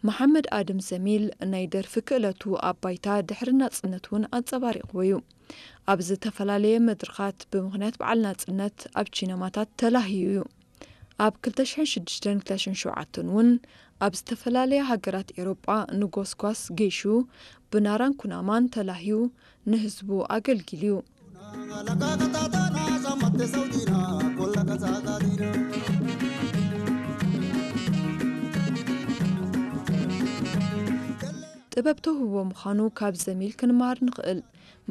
መሓመድ ኣድም ዘሚል ናይ ደርፊ ክእለቱ ኣብ ባይታ ድሕሪ ናጽነት እውን ኣንጸባሪቕዎ እዩ። ኣብ ዝተፈላለየ መድረኻት ብምኽንያት በዓል ናጽነት ኣብ ቺነማታት ተላህዩ እዩ። ኣብ ክልተ ሽሕን ሽዱሽተን ክልተ ሽሕን ሸውዓተን እውን ኣብ ዝተፈላለያ ሃገራት ኤውሮጳ ንጎስጓስ ገይሹ ብናራን ኩናማን ተላህዩ ንህዝቡ ኣገልጊሉ እዩ። ጥበብ ተውህቦ ምዃኑ ካብ ዘሚል ክንመሃር ንኽእል።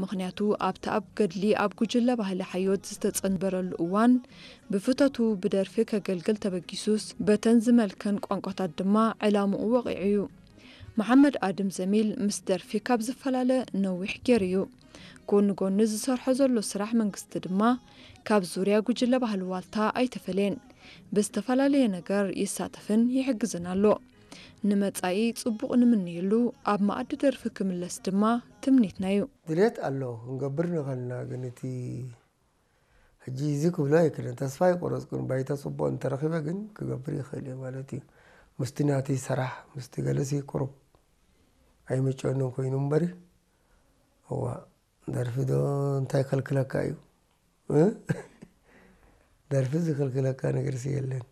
ምኽንያቱ ኣብቲ ኣብ ገድሊ ኣብ ጉጅለ ባህሊ ሓዮት ዝተጸንበረሉ እዋን ብፍተቱ ብደርፊ ከገልግል ተበጊሱስ በተን ዝመልከን ቋንቋታት ድማ ዕላምኡ ወቒዑ እዩ። መሓመድ ኣድም ዘሚል ምስ ደርፊ ካብ ዝፈላለ ነዊሕ ገይሩ እዩ። ጎኒ ጎኒ ዝሰርሖ ዘሎ ስራሕ መንግስቲ ድማ ካብ ዙርያ ጉጅለ ባህሊ ዋልታ ኣይተፈለየን። ብዝተፈላለየ ነገር ይሳተፍን ይሕግዝን ኣሎ። ንመጻኢ ጽቡቕ ንምንየሉ፣ ኣብ መኣዲ ደርፊ ክምለስ ድማ ትምኒትና እዩ። ድሌት ኣሎ ክንገብር ንኸልና፣ ግን እቲ ሕጂ እዚ ክብሎ ኣይክእልን። ተስፋ ኣይቆረጽኩን። ባይታ ጽቡቕ እንተረኺበ ግን ክገብር ይኽእል እየ ማለት እዩ። ምስቲ ናተይ ሰራሕ፣ ምስቲ ገለሲ ቁሩብ ኣይምጨንን ኮይኑ እምበሪ፣ እዋ፣ ደርፊ ዶ እንታይ ከልክለካ እዩ? እ? ደርፊ ዝከልክለካ ነገርሲ የለን።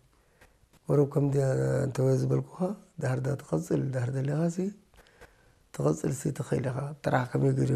ቁሩብ ከም ዲ-፣ እንተ ዝበልኩኻ፣ ድሕር ዳ ትቐጽል፣ ድሕር ደሊኻሲ ትቐጽልሲ ትኽእል ኢኻ። ጥራሕ ከመይ ገይሩ